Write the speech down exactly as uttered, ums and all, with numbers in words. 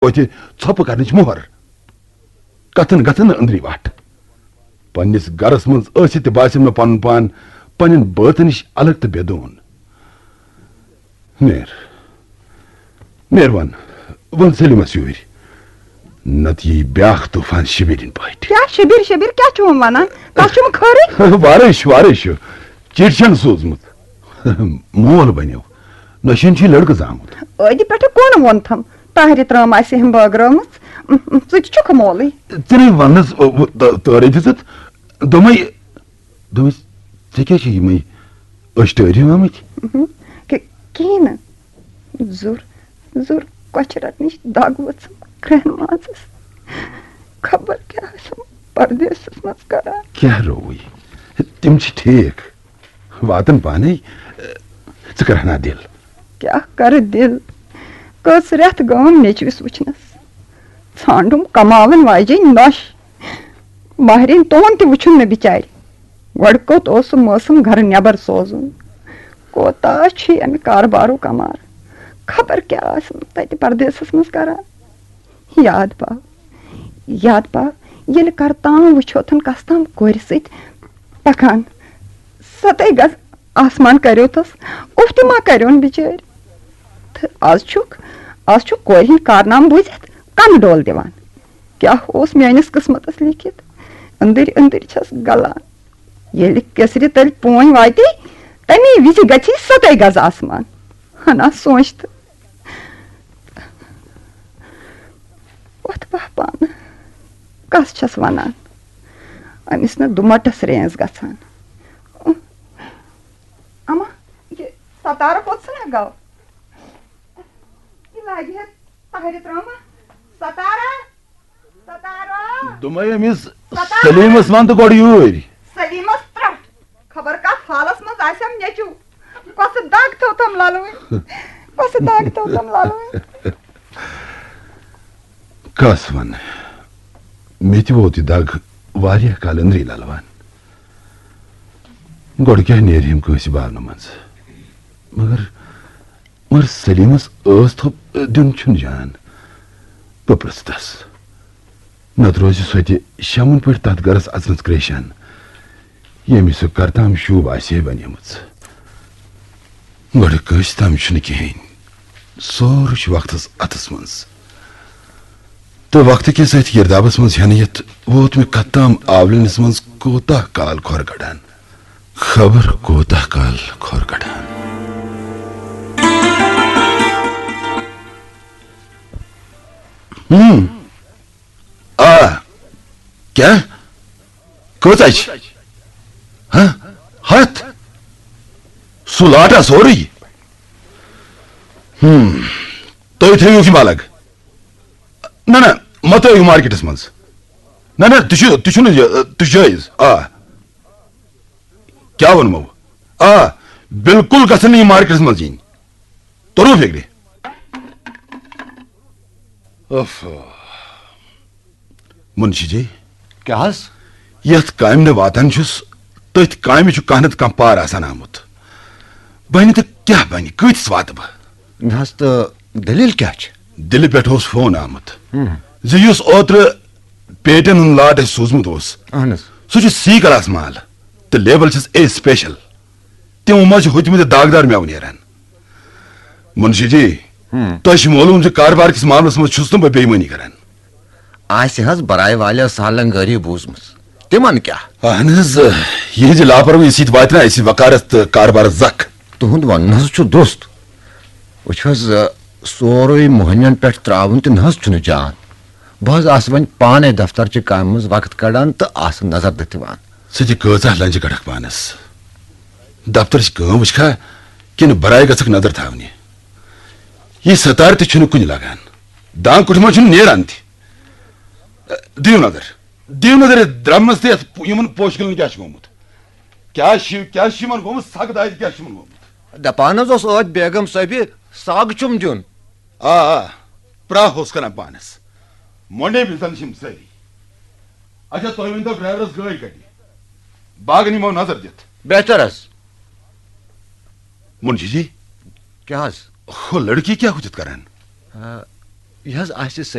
توتہِ ژھۄپہٕ کرنٕچ مۄہر۔ کتھن گژھن نہٕ أنٛدری وٹھ۔ پننِس گرس منٛز ٲسِتھ تہِ باسیٚم مےٚ پنُن پان پننٮ۪ن بٲژن نِش الگ تہٕ بے دون۔ نیر، نیر وَن، وَن سلیمس یوٗرۍ، نتہٕ یی بیاکھ طوفان شبیرٕنۍ پٲٹھۍ۔ کیٛاہ شبیر، شبیر کیٛاہ چھُ وۄنۍ ونان؟ تۄہہِ چھُم خٲرٕے؟ وارے چھُ، وارے چھُ۔ چِٹھۍ چھَن سوٗزمٕژ۔ مول بنیو۔ نۄشہِ ہُنٛد چھُ لڑکہٕ زامُت۔ عٲدِ پٮ۪ٹھٕ کون ووٚنتھم؟ طاہرِ ترٲم آسہِ ہم بٲگرٲومٕژ۔ ژٕ تہِ چھُکھ مولٕے۔ ژےٚ نے وَننَس، او، او، تٲ-، تٲرے دِژٕتھ۔ دوٚپمَے، دوٚپمَس، "ژےٚ کیٛاہ چھِ یِمَے أچھ ٹٲرِو آمٕتۍ؟" کہِ-، کِہیٖنۍ نہٕ۔ زُر، زُر کۄچھِ رٹنٕچ دگ ؤژھٕم کرٛٮ۪ن مازَس۔ خبر کیٛاہ آسٮ۪م پردیسَس منٛز کران۔ کیٛاہ رووُے؟ تِم چھِ ٹھیٖک۔ واتن پانے۔ ژٕ کر ہنا دِل۔ کیٛاہ کرٕ دِل؟ کٔژ رٮ۪تھ گٔم نیٚچوِس وٕچھنس۔ ژھانڈُم کماون واجیٚنۍ نۄش۔ ماہرِنۍ تُہُنٛد تہِ وٕچھُن نہٕ بِچارِ۔ گۄڈٕ کوٚت اوس سُہ موسم گرٕ نٮ۪بر سوزُن؟ کوتاہ چھُ یہِ امہِ کاربارُک امار؟ خبر کیٛاہ آسن تتہِ پردیسس منٛز کران۔ یاد پاو، یاد پاو، ییٚلہِ کرتام وٕچھوتھن کستام کورِ سۭتۍ پکان۔ ستَے گز آسمان کریوتس، اُف تہِ ما کریون بِچٲرۍ؟ تہٕ از چھُکھ، از چھُکھ کورِ ہٕنٛدۍ کارنامہٕ بوٗزِتھ کنہٕ ڈول دِوان۔ کیٛاہ اوس میٲنِس قٕسمتس لیٖکھِتھ؟ أنٛدٕرۍ أنٛدٕرۍ چھَس گلان۔ ییٚلہِ کیسرِ تٔلۍ پونۍ واتہِ، تَمی وِزِ گژھِ ستَے گز آسمان۔ ہنا سونٛچ تہٕ وۄتھ بہہ پانہٕ۔ کس چھَس وَنان؟ أمِس نہٕ دُمَٹَس رینٛز گژھان۔ اما، یہِ ستارٕ کوٚت ژھٕنان گوٚو؟ یہِ لاگہِ ہے طاہرِ ترٛامہٕ۔ ستارہ، ستارہ۔ دوٚپمَے أمِس ستارہ۔ سلیٖمَس وَن تہٕ گۄڈٕ یوٗرۍ۔ سلیٖمَس ترٛٹھ۔ خبر کتھ حالس منٛز آسٮ۪م نیٚچو۔ کۄسہٕ دگ تھٲوتھم للوٕنۍ؟ کۄسہٕ دگ تھٲوتھم للوٕنۍ؟ کس ونہٕ؟ مےٚ تہِ ووت یہِ دگ واریاہ کال أنٛدری للوان۔ گۄڈٕ کیٛاہ نیرِ ہم کٲنٛسہِ باونہٕ منٛز؟ مگر، مگر سلیمس ٲس تھوٚپ دیُن چھُنہٕ جان۔ بہٕ پرٛژھٕ تس۔ نتہٕ روزِ سۄ تہِ شمن پٲٹھۍ تتھ گرس اژنس کریشان، ییٚمِس سۄ کرتام شوٗب آسہِ ہے بنیمٕژ۔ گۄڈٕ کٲنٛسہِ تام چھُنہٕ کِہیٖنۍ۔ سورُے چھُ وقتس اتھس منٛز۔ تہٕ وقتہٕ کِس أتھۍ گِردابس منٛز ہٮ۪نہٕ یِتھ ووت مےٚ کتھ تام آولِنس منٛز کوٗتاہ کال کھۄر کڑان۔ خبر کوٗتاہ کال کھۄر کڑان۔ ہم۔ آ۔ کیٛاہ؟ کۭژاہ چھِ؟ ہہ؟ ہتھ؟ سُہ لاٹا سورُے؟ ہم۔ تُہۍ تھٲیِو یہِ الگ۔ نہ، نہ، مہ ترٲیِو مارکیٹس منٛز۔ نہ، نہ، تہِ چھُ، تہِ چھُنہٕ یہِ، تہِ چھُ جٲیز۔ آ۔ کیٛاہ ووٚنمو؟ آ، بالکل گژھن نہٕ یہِ مارکیٹس منٛز یِنۍ۔ توٚرُو فِکرِ؟ اوف۔ منشی جی۔ کیٛاہ حظ؟ یتھ کامہِ نہٕ واتان چھُس، تٔتھۍ کامہِ چھُ کانٛہہ نتہٕ کانٛہہ پار آسان آمُت۔ بنہِ تہٕ کیٛاہ بنہِ؟ کۭتِس واتہٕ بہٕ؟ نہ حظ، تہٕ دٔلیٖل کیٛاہ چھِ؟ دِلہِ پٮ۪ٹھ اوس فون آمُت ہم۔ زِ یُس اوترٕ پیٹٮ۪ن ہُنٛد لاٹ اَسہِ سوٗزمُت اوس، اہن حظ۔ سُہ چھُ سی کلاس مال تہٕ لیبل چھَس اے سپیشل۔ تِمو منٛز چھِ ہوٚتمٕتۍ داغدار مٮ۪وٕ نیران۔ منشی جی، ہم۔ تۄہہِ چھُ معلوم زِ کاربار کِس معاملس منٛز چھُس نہٕ بہٕ بے ایمٲنی کران۔ آسہِ حظ برایہِ والٮ۪و سالنگٲری بوٗزمٕژ؟ تِمن کیٛاہ؟ اہن حظ، یِہنٛزِ لاپروٲہی سۭتۍ واتہِ نہ اَسہِ وقارس تہٕ کاربارس زکھ۔ تُہُنٛد ونُن حظ چھُ درست۔ وٕچھ حظ، سورُے مۄہنِوٮ۪ن پٮ۪ٹھ ترٛاوُن تہِ نہ حظ چھُنہٕ جان۔ بہٕ حظ آسہٕ وۄنۍ پانے دفترچہِ کامہِ منٛز وقت کڑان تہٕ آسہٕ نظر دِتھ یِوان۔ ژٕ تہِ کۭژاہ لنجہِ کڑکھ پانس؟ دفترٕچ کٲم وٕچھکھا کِنہٕ برایہِ گژھکھ نظر تھاونہِ؟ یہِ ستار تہِ چھُنہٕ کُنہِ لگان۔ دان کُٹھِ منٛز چھُنہٕ نیران تہِ۔ دِیِو نظر، دِیِو نظر یتھ درمنس تہٕ یتھ پو-، یِمن پوشہٕ کُلٮ۪ن کیٛاہ چھُ گوٚمُت۔ کیٛاہ چھِ، کیٛاہ چھُ یِمن گوٚمُت؟ سگ دادِ کیٛاہ چھُ یِمن گوٚمُت؟ دپان حظ اوس ٲدۍ بیگم صٲبہِ سگ چھُم دیُن۔ آ، آ، پرٛاہ اوس کران پانس۔ مۄنڈے بِزن چھِم سٲری۔ اچھا، تُہۍ ؤنۍتو ڈرایورس گٲڑۍ کتہِ؟ باغن یِمو نظر دِتھ۔ بہتر حظ۔ منشی جی۔ کیٛاہ حظ؟ ہُہ لڑکی کیٛاہ ہُتِتھ کران؟ آ، یہِ حظ آسہِ